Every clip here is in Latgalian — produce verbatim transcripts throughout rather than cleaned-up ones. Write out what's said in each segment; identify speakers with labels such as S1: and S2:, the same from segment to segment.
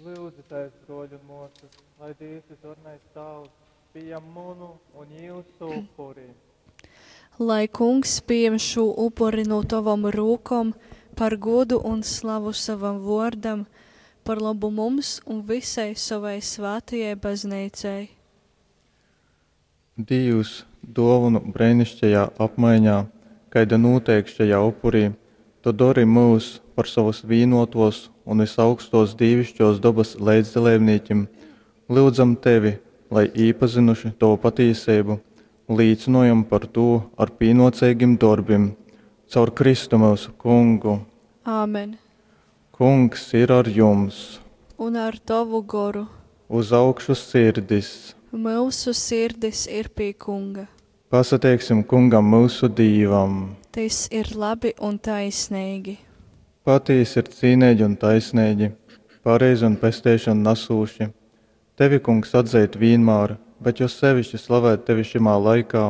S1: Lūdzieties, broļi un mosas, lai Dievs visvarenais Tēvs pieņem manu un jūsu upuri.
S2: Lai Kungs pieņem šo upuri no tavam rūkom par godu un slavu savam vōrdam, par labu mums un visai sovai svātajai Bazneicai.
S3: Dīvs, dōvonu breiniškajā apmaiņā, kaida nūteik šajā upurī, tu dori myus par sovas vīnōtōs un vysaugstōs dīviškōs dobas leidzdaleibnīkim, lyudzam tevi, lai, īpazynuši tovu patīseibu, līcynojam par tū ar pīnōceigim dorbim. Caur Kristu myusu Kungu.
S2: Āmen.
S3: Kungs ir ar jums!
S2: Un ar tovu goru.
S3: Uz augšu sirdis!
S2: Myusu sirdis ir pie Kunga.
S3: Pasateiksim Kungam myusu Dīvam!
S2: Tys ir labi un taisneigi.
S3: Patīsi ir cīneigi un taisneigi, pareizi un pesteišonu nasūši, tevi, Kungs, atzeit vīnmār, bet jo seviški slavēt tevi šymā laikā,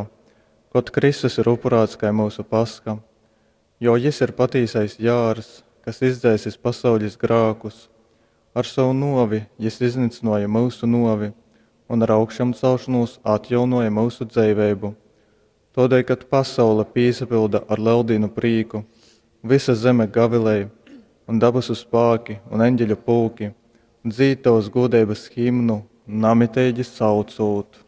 S3: kod Kristus ir upurāts kai myusu Pasha. Jo jys ir patīsais jārs, kas izdzēsis pasauļis grākus. Ar sovu nōvi jys iznycynōja myusu nōvi un ar augšamcelšonūs atjaunōja myusu dzeiveibu. Tōdēļ, kad pasaule pīsapylda ar Leldīnu prīku, vysa zeme gavilej, un dabasu spāki un eņģeļu pulki dzīd tovas gūdeibas himnu, namiteigi saucūt.